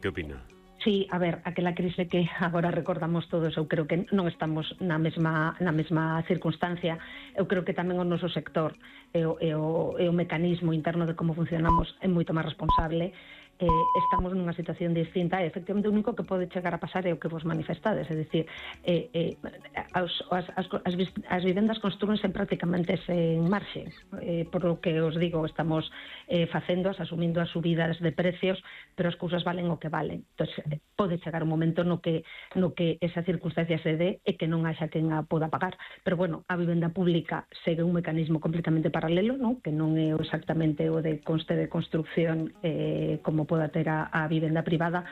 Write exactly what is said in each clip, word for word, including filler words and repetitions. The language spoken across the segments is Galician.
Que opina? Sí, a ver, aquela crise que agora recordamos todos, eu creo que non estamos na mesma na mesma circunstancia. Eu creo que tamén o noso sector e o, e o, e o mecanismo interno de como funcionamos é moito máis responsable. Eh, estamos nunha situación distinta e efectivamente o único que pode chegar a pasar é o que vos manifestades, é dicir, eh, eh, as, as, as, as vivendas construense prácticamente sen marxe, eh, por lo que os digo, estamos eh, facendo, asumindo as subidas de precios, pero as cousas valen o que valen. Entón, pode chegar un momento no que, no que esa circunstancia se dé e que non haxa quen a poda pagar, pero bueno, a vivenda pública segue un mecanismo completamente paralelo, non? Que non é exactamente o de conste de construcción eh, como poda ter a, a vivenda privada,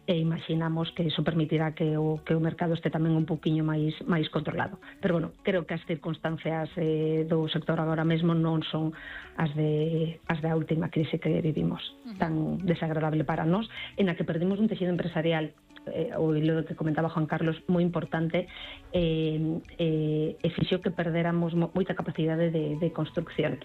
e imaginamos que iso permitirá que o, que o mercado este tamén un poquinho máis máis controlado. Pero bueno, creo que as circunstancias eh, do sector agora mesmo non son as de as da última crise que vivimos, tan desagradable para nós, en a que perdimos un texido empresarial, eh, o lo que comentaba Juan Carlos, moi importante, eh, eh, e fixo que perdéramos moita capacidade de, de construcción,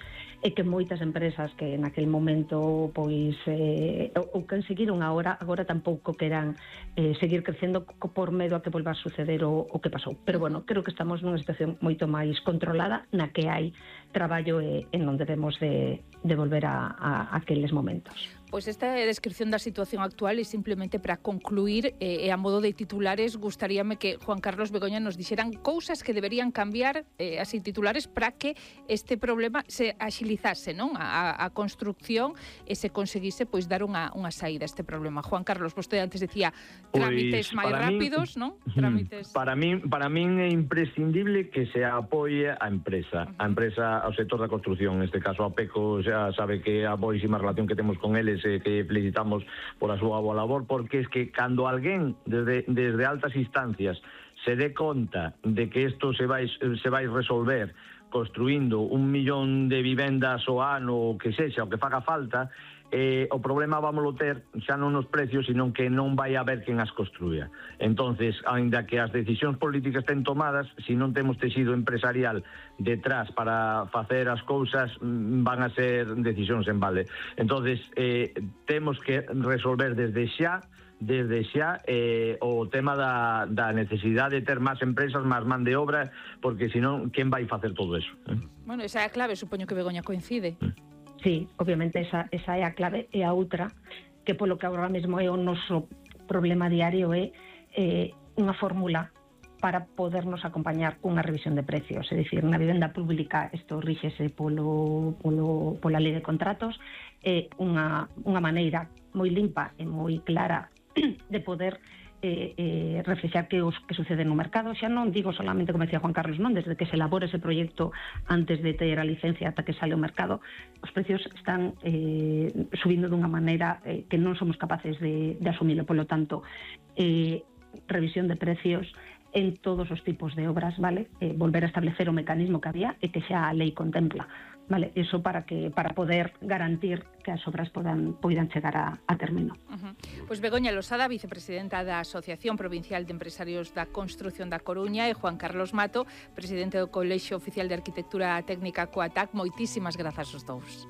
e que moitas empresas que naquel momento pois eh, ou que seguiron agora, agora tampouco queran eh, seguir crecendo por medo a que volva a suceder o, o que pasou. Pero bueno, creo que estamos nunha situación moito máis controlada, na que hai traballo e, e non debemos de, de volver a, a aqueles momentos. Pois esta é a descripción da situación actual e simplemente para concluir e eh, a modo de titulares gustaríame que Juan Carlos Begoña nos dixeran cousas que deberían cambiar eh, así titulares para que este problema se axilizase, non? A, a construcción e se conseguise pois dar unha, unha saída a este problema. Juan Carlos, vostede antes decía trámites pois, máis rápidos, non? Trámites... Para min, para min é imprescindible que se apoie a empresa, uh-huh. a empresa, ao sector da construcción, neste caso a PECO xa sabe que a boísima relación que temos con eles que felicitamos por a súa boa labor, porque es que cando alguén desde, desde altas instancias se dé conta de que isto se vai, se vai resolver construindo un millón de vivendas ao ano, o que sexa, o que faga falta, eh, o problema vámoslo ter xa non nos precios, sino que non vai haber quen as construya. Entonces, ainda que as decisións políticas estén tomadas, se non temos texido empresarial detrás para facer as cousas, van a ser decisións en balde. Entonces, eh, temos que resolver desde xa desde xa eh, o tema da, da necesidade de ter máis empresas, máis man de obra, porque senón, quen vai facer todo eso? Eh? Bueno, esa é a clave, supoño que Begoña coincide. Mm. Sí, obviamente esa, esa é a clave, e a outra, que polo que agora mesmo é o noso problema diario, é eh, unha fórmula para podernos acompañar cunha revisión de precios. É dicir, na vivenda pública isto ríxese polo, polo, pola lei de contratos, é unha, unha maneira moi limpa e moi clara de poder eh, eh, reflexar que os que sucede no mercado. Xa non digo solamente, como decía Juan Carlos, non, desde que se elabora ese proxecto antes de ter a licencia ata que sale ao mercado, os precios están eh, subindo dunha maneira eh, que non somos capaces de, de asumilo. Polo tanto, eh, revisión de precios en todos os tipos de obras, vale? Eh, volver a establecer o mecanismo que había e que xa a lei contempla, vale? Eso para que para poder garantir que as obras podan poidan chegar a, a término. Uh-huh. Pois Begoña Losada, vicepresidenta da Asociación Provincial de Empresarios da Construción da Coruña, e Juan Carlos Mato, presidente do Colexio Oficial de Arquitectura Técnica Coatac, moitísimas grazas aos dous.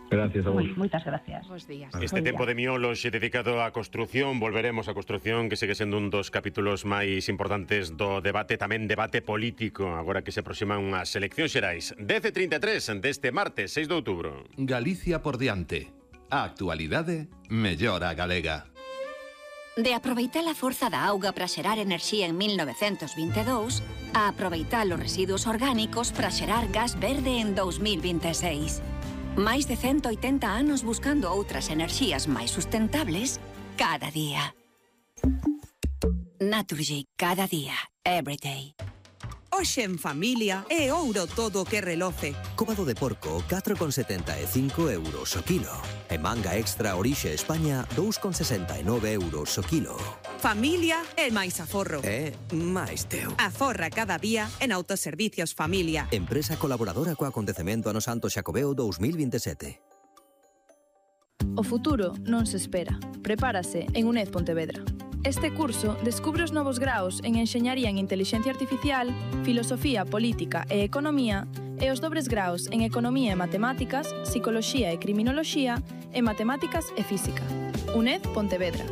Gracias a vos. Moitas gracias. Bos días. Este tempo de miolos dedicado á construción, volveremos á construción, que segue sendo un dos capítulos máis importantes do debate, tamén debate político, agora que se aproximan unhas eleccións xerais. dez e trinta e tres deste martes seis de outubro. Galicia por diante. A actualidade mellora a galega. De aproveitar a forza da auga para xerar enerxía en mil novecentos vinte e dous a aproveitar os residuos orgánicos para xerar gas verde en dous mil vinte e seis. Máis de ciento oitenta anos buscando outras enerxías máis sustentables cada día. Naturgy, cada día, every day. Hoxe en familia é ouro todo o que reloce. Cóbado de porco, catro con setenta e cinco euros o kilo. E manga extra Orixe España, dous con sesenta e nove euros o kilo. Familia é máis aforro. É máis teu. Aforra cada día en Autoservicios Familia. Empresa colaboradora co acontecemento ano Santo Xacobeo dous mil vinte e sete. O futuro non se espera. Prepárase en UNED Pontevedra. Este curso descubre os novos graos en Enxeñaría en Intelixencia Artificial, Filosofía, Política e Economía e os dobres graos en Economía e Matemáticas, Psicoloxía e Criminoloxía e Matemáticas e Física. UNED Pontevedra.